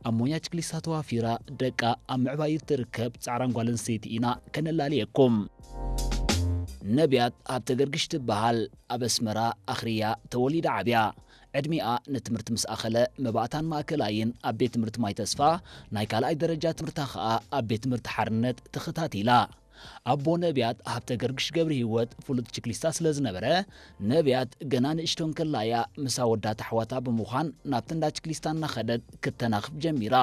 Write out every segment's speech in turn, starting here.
ኣብ ሞያ ችክሊስታ ተዋፊራ ደቃ ኣብ ምዕባይ እትርከብ ጻዕራም ጓል ኣንስተይቲ ኢና ከነላልየኩም። ነብያት ሃብተ ገርግሽ ትበሃል። ኣብ ኣስመራ ኣኽርያ ተወሊዳ ዓብያ። ዕድሚኣ ንትምህርቲ ምስ ኣኸለ መባእታን ማእከላይን ኣብ ቤት ትምህርቲ ማይ ተስፋ፣ ናይ ካልኣይ ደረጃ ትምህርታ ኸኣ ኣብ ቤት ትምህርቲ ሓርነት ተኸታቲላ። ኣቦ ነብያት ሃብተ ገርግሽ ገብረ ህይወት ፍሉጥ ችክሊስታ ስለ ዝነበረ፣ ነብያት ገና ንእሽቶ እንከላ'ያ ምስ ኣወዳት ኣሕዋታ ብምዃን ናብቲ እንዳ ችክሊስታ እናኸደት ክተናኽፍ ጀሚራ።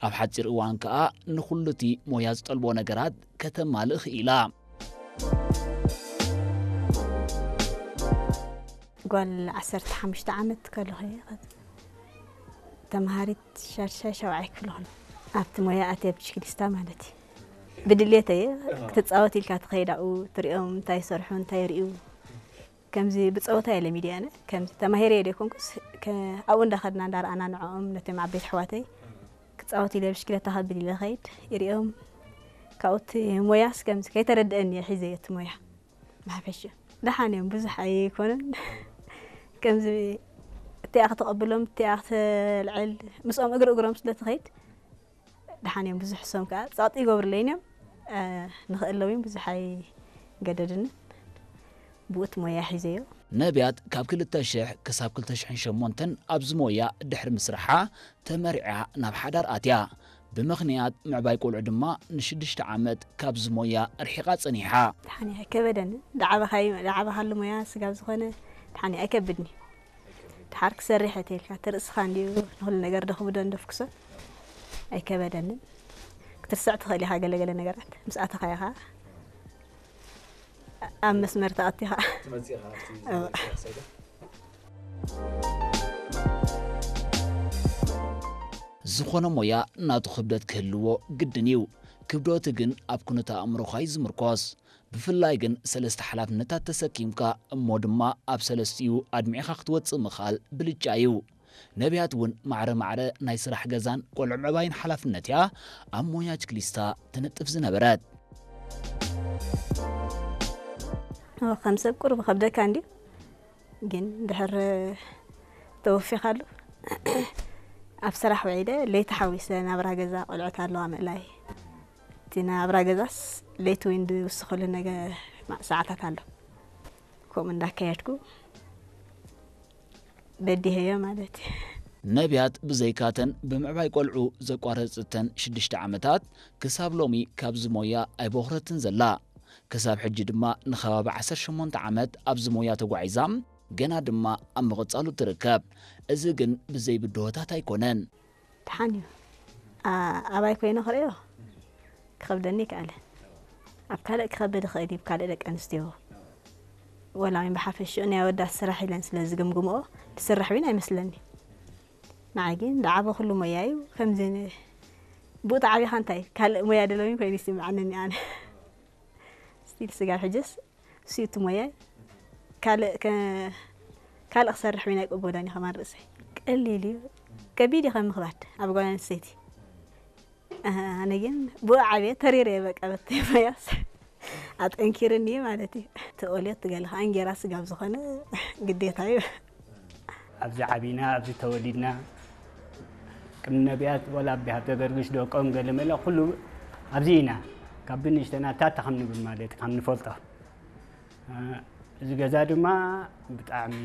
ኣብ ሓጺር እዋን ከኣ ንኹሉ እቲ ሞያ ዝጠልቦ ነገራት ከተማልእ ክኢላ። ጓል ዓሰርተ ሓሙሽተ ዓመት ከለኹ እየ ተምሃሪት ሻድሻይ ሻውዓይ ክፍሊ ከለኹ ኣብቲ ሞያ ኣትየ ብሽክሊስታ ማለት እዩ። ብድሌት እየ ክትጻወት ኢልካ ትኸይድ ኣብኡ ትሪኦም እንታይ ይሰርሑ እንታይ ይርእዩ። ከምዚ ብጸወታ እየ ለሚደ ኣነ። ከምዚ ተማሂረ እየ ዘይኮንኩስ ከ-፣ ኣብኡ እንዳኸድና እንዳረኣና ንዕኦም ነቶም ዓበይቲ ኣሕዋተይ ክጻወት ኢለ ብሽክለታ ከብል ኢለ ኸይድ ይሪኦም። ካብኡ እቲ ሞያስ ከምዚ ከይተረድአኒ እየ ሒዘዮ እቲ ሞያ። ብሓፈሽኡ ደሓን እዮም፣ ብዙሕ ኣይኮኑን። ከምዚ እቲኣ ከተቐብሎም፣ እቲኣ ከተልዕል፣ ምስኦም እግሪ እግሮም ስለ ትኸይድ ደሓን እዮም። ብዙሕ እሶም ከኣ ጸቕጢ ይገብሩለይን እዮም። እ፣ ንኽእለዊ ብዙሕ ኣይገደድንን። ብኡ እቲ ሞያ ሒዘዮ። ነብያት ካብ ክልተ ሽሕ ክሳብ ክልተ ሽሕን ሸሞንተን ኣብዚ ሞያ ድሕሪ ምስራሓ ተመሪዓ ናብ ሓዳር ኣትያ። ብምኽንያት ምዕባይ ቆልዑ ድማ ንሽዱሽተ ዓመት ካብዚ ሞያ ርሒቓ ጸኒሓ። ደሓን እየ፣ ኣይከበደንን። ደዓበኻይ-፣ ደዓበኻሉ ሞያ ስጋብ ዝኾነ ደሓን እየ፣ ኣይከብድን እዩ። ደሓር ክሰርሕ እየ ተይልካ፣ እቲ ርእስኻ እንድዩ ንኹሉ ነገር ደኽብዶ እንደፍክሶ ኣይከበደንን። ክትርስዕ ትኽእል ኢኻ ገለ ገለ ነገራት፣ ምስ ኣተኻዮ ኸኣ ኣብ መስመር ተኣቲኻ። ትመጽእ ኢኻ ኣብቲ እወ። ዝነበረካ ሰይዳ? ዝኾነ ሞያ ናቱ ክብደት ክህልዎ ግድን እዩ። ክብደቱ ግን ኣብ ኩነተ ኣእምሮኻ እዩ ዝምርኮስ። ብፍላይ ግን ሰለስተ ሓላፍነታት ተሰኪምካ እሞ ድማ ኣብ ሰለስቲኡ ኣድሚዕኻ ክትወጽእ ምኽኣል ብልጫ እዩ። ነብያት እውን ማዕረ ማዕረ ናይ ስራሕ ገዛን ቆልዑ ምዕባይን ሓላፍነት እያ ኣብ ሞያ ችክሊስታ ትነጥፍ ዝነበረት። እወ፣ ከም ሰብ ቁሩብ ከብደካ እንድዩ፣ ግን ድሕር ተወፊኻሉ ኣብ ስራሕ ውዒለ ለይቲ ሓዊሰ ናብራ ገዛ ቆልዑት ኣለዋ ምእላይ። እቲ ናብራ ገዛስ ለይቲ እውን ዝውስኸሉ ነገ ሰዓታት ኣሎ። ከምኡ እንዳካየድኩ በዲሀዮ ማለት እዩ። ነብያት ብዘይካተን ብምዕባይ ቆልዑ ዘቋረጸተን ሽዱሽተ ዓመታት ክሳብ ሎሚ ካብዚ ሞያ ኣይቦኽረትን ዘላ። ክሳብ ሕጂ ድማ ንኸባቢ ዓሰርተ ሸሞንተ ዓመት ኣብዚ ሞያ ተጓዒዛ፣ ገና ድማ ኣብ ምቕጻሉ ትርከብ። እዚ ግን ብዘይ ብድሆታት ኣይኮነን። ደሓን እዩ። ኣ-፣ ኣባይ ኮይነ ክርእዮ ክኸብደኒ ይከኣለ። ኣብ ካልእ ክኸብድ ይኽእል እዩ፣ ካልእ ደቂ ኣንስትዮ። ወላ እውን ብሓፈሽኡ ናይ ኣወዳት ስራሕ ኢለን ስለ ዝግምግምኦ፣ ዝስራሕ እውን ኣይመስለኒ። ንዓይ ግን ዝዓበኹሉ ሞያ እዩ። ከምዚ ን-፣ ብኡ ተዓቢኻ እንታይ ካልእ ሞያ ደለውኝ ኮይኑ ይስምዓኒ ኣነ። ስቲል ስጋብ ሕጅስ እሱ እዩ እቲ ሞያይ። ካልእ ከ-፣ ካልእ ክሰርሕ እውን ኣይቅበሎን እዩ ከማን ርእሰይ። ቀሊል እዩ። ከቢድ እዩ ከም ምኽባድ ኣብ ጓል ኣንስተይቲ። ኣነ ግን ብኡ ዓብየ ተሪረ እየ በቃ በቲ ሞያስ ኣጠንኪርኒ እዩ ማለት እዩ። እቲ ቆልዮት ትገለ ከዓ እንጌራ ስጋብ ዝኾነ ግዴታ እዩ። ኣብዚ ዓቢና፣ ኣብዚ ተወሊድና፣ ቅድሚ ነቢያት ወላ ኣቢ ሃብተ ገርግሽ ደቆም ገለ መለ ኩሉ ኣብዚ ኢና። ካብ ብንእሽተና ታታ ከም ንብል ማለት እዩ፣ ከም ንፈልጦ። እ፣ እዚ ገዛ ድማ ብጣዕሚ፣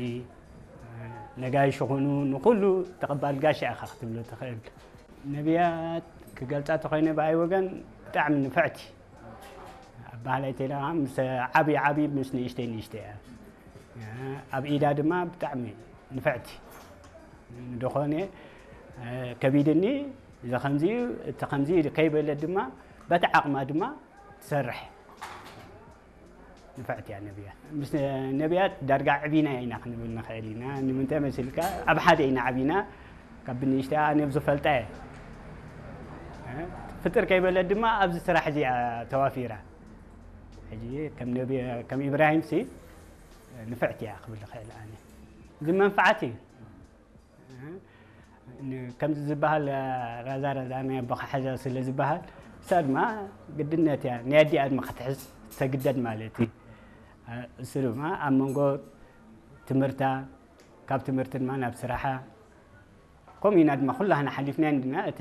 እ፣ ነጋይሽ ይኹኑ ንኹሉ ተቐባል ጋሻ ኢኻ ክትብሎ ትኽእል። ነቢያት ክገልጻ ተኾይነ ብኣይ ወገን ብጣዕሚ ንፍዕቲ። ኣባህላይ ተይላ ምስ ዓብዪ ዓብዪ ምስ ንእሽተይ ንእሽተይ እያ። ኣብ ኢዳ ድማ ብጣዕሚ ንፍዕቲ። ንደኾነ፣ እ፣ ከቢድኒ፣ እዚ ከምዚ እዩ፣ እቲ ከምዚ እዩ ከይበለት ድማ በቲ ዓቕማ ድማ ትሰርሕ። ንፍዕቲ እያ ነቢያት። ምስ ነቢያት ዳርጋ ዕቢና ኢና ክንብል ንኽእል ኢና። ንምንታይ መሲልካ? ኣብ ሓደ ኢና ዓቢና። ካብ ብንእሽተይ ኣነ ኣብ ዝፈልጣ እየ። እ፣ ፍጥር ከይበለት ድማ ኣብዚ ስራሕ እዚ እያ ተዋፊራ። ሕጂ ከም ነቢ-፣ ከም ኢብራሂም ሲ ንፍዕቲ እያ ክብል እኽእል ኣነ። እዚ መንፍዓት እዩ። እ፣ ን-፣ ከምዚ ዝበሃል ራዛ ራዛ ናይ ኣቦኻ ሓዛ ስለ ዝበሃል፣ እሳ ድማ ግድነት እያ። ናይ ኣዲኣ ድማ ክትሕዝ ተግደድ ማለት እዩ። እ፣ እሱ ድማ ኣብ መንጎ ትምህርታ፣ ካብ ትምህርቲ ድማ ናብ ስራሓ፣ ከምኡ ኢና ድማ ኩላህና ሓሊፍና እንድና እቲ